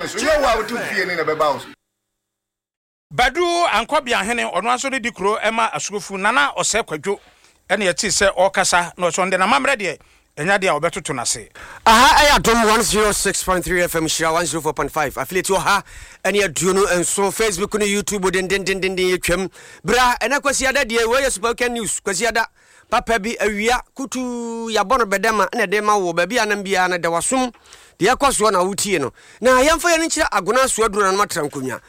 so. Nyɛ wo a wote wo fie no na ɛbɛba wo so. Badu Ankɔbeahene, ɔno ara nso redi kuro ma Asuofu, Nana Ɔsɛe Kwadwo na yɛtee sɛ ɔrekasa na ɔsɛ ɔno deɛ n'amammerɛ deɛ ɛnyɛ adeɛ a ɔbɛtoto no ase. Aha ɛyɛ Adom 106.3 FM Nhyira 104.5 affiliate 127 Facebook ne YouTube dendendenden yɛtwam bra ɛnɛ Kwasiada deɛ wei yɛ Super Weekend News Kwasiada Papa bi awia kutuu yɛabɔ no bɛdɛma na ɛde ma wo baabi a nam biara no da w'asom deɛ ɛkɔ soɔ na wotie no na yɛmfa yɛn nkyerɛ agona so aduro nanom atra nkonnwa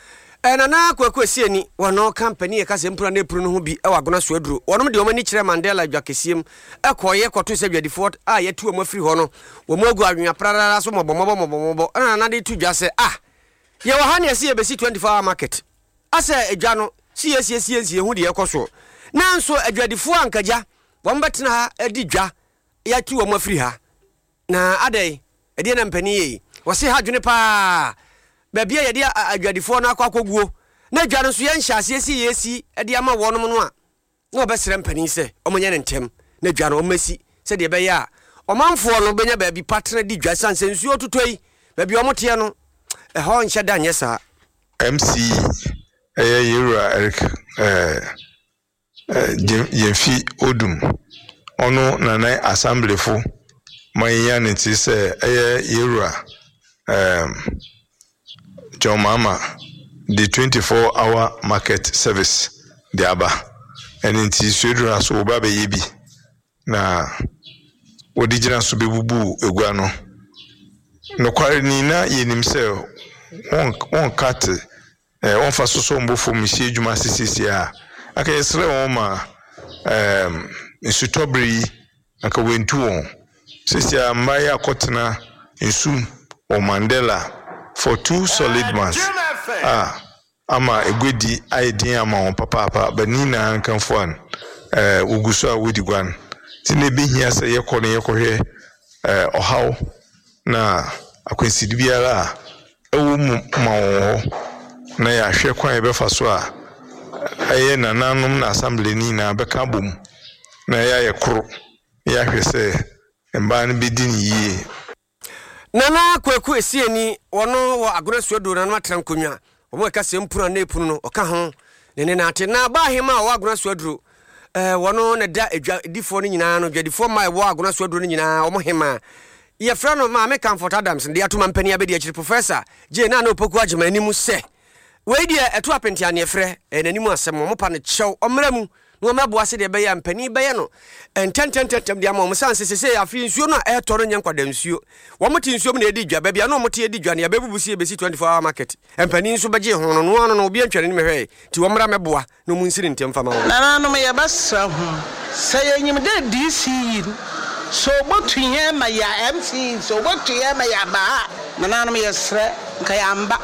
eh, Nana Kwaku Asiani wɔno ka mpanin ɛka sɛ mpura na ɛpuru no ho bi wɔ agona so aduro wɔnom deɛ wɔn ani kyerɛ Mandela dwa kɛseɛ mu ɛkɔɔyɛ kɔto sɛ dwadifoɔ a yɛatu wɔn afiri hɔ no wɔn agu anwea prarara so mmɔbɔmmɔbɔ mmɔbɔmmɔbɔ ɛna Nana de to dwa sɛ ah yɛwɔ ha ne ɛsɛ yɛbɛsi 24 hour market Asɛ edwa no si yɛsiesie nsi yɛhu deɛ ɛkɔ soɔ. Nanso adwadifoɔ anka gya wɔn bɛtena ha adi dwa yɛatu wɔn afiri ha. Na adɛn? Ɛdeɛn na mpanin yɛ yi? Wɔse ha dwene paa. Baabi a yɛde adwadifoɔ no akɔ akɔguo na dwa no nso yɛnhyɛ aseɛ si yɛsi de ama wɔnom no a, na wɔbɛsrɛ mpanin sɛ wɔnyɛ no ntɛm na dwa no wɔmmɛsi sɛdeɛ ɛbɛyɛ a ɔmanfoɔ no bɛnya baabi pa tena di dwa ɛsiane sɛ nsuo totɔ yi baabi a wɔteɛ no ɛhɔ nhyɛ da nyɛ saa. MC ɛyɛ Yewura Eric Gyamfi Odum ɔno na na Assemblefo ma yenya ne tse sɛ ɛyɛ Yewura John Mahama de 24 hour market service de aba. Ɛno nti Suedura so wɔba abɛyɛ bi na wɔde gyina so bɛbubu egua no. Nokware ni na yɛnim sɛ wɔnka te eh, wɔmfa so sɔ mbɔ fam nhyɛ adwuma ase seesei a, anka yɛsrɛ wɔn ma eh, nsutɔbere yi anka wɔantu wɔn. Seesei a mmaa yi akɔtena nsu mu wɔ Mandela for two solid months a ama aguadi ayɛ din ama wɔn papaapa, but ne nyinaa nkamfo an eh, wogu so a wodi guan. Nti na ebehia sɛ yɛkɔ na yɛkɔhwɛ eh, ɔhaw na akwanside biara a ɛwɔ mu ma wɔn hɔ, na yɛahwɛ kwan a yɛbɛfa so a ɛyɛ nananom na assembly no nyinaa bɛka abom na yɛayɛ koro na yɛahwɛ sɛ mmaa no bɛdi no yie. Nana Kwaku Esieni, wɔno wɔ Agona Suaduro Nananom Atra Nkonnwa, wɔn a ɛka sɛ mpunu anaa epunu no, ɔka ho ne ne nante. Na Ɔbaa Hemaa a ɔwɔ Agona Suaduro, eh, wɔno na ɛda adwadifoɔ no nyinaa no, dwadifoɔ mmaa a ɛwɔ Agona Suaduro no nyinaa, wɔn hemaa. Yɛfrɛ no Maame Comfort Adams, de ato mampanin abadiakyiri Professor Jane Nana Opoku Agyemang anim sɛ, wei deɛ ɛto apenteaneɛfrɛ, ɛyɛ n'anim asɛm, wɔpa no kyɛw, ɔmmra mu na wɔmmɛboa sɛdeɛ ɛbɛyɛ a mpanin bɛyɛ no ntɛntɛntɛntɛm de ama wɔn sane sɛ sesei afei nsuo no a ɛretɔ no nyɛ nkwadaa nsuo. Wɔn te nsuo mu na ɛdi dwa, baabi a na wɔn te di dwa no yɛabɛbubu sɛ yɛbɛsi 24 hour market. Mpanin nso bɛgyee ho no, noa ano no obiara ntwa n'anim hwɛe, nti wɔmmra mmɛboa na wɔn nsi no ntɛm mfa ma wɔn. Nananom yɛbɛsrɛ hom, sɛ yenyim dɛ DC yi no, sɛ obotu hɛn ma yɛ MC yi, sɛ obotu hɛn ma yɛaba ha a, nananom yɛserɛ, nka yɛammba.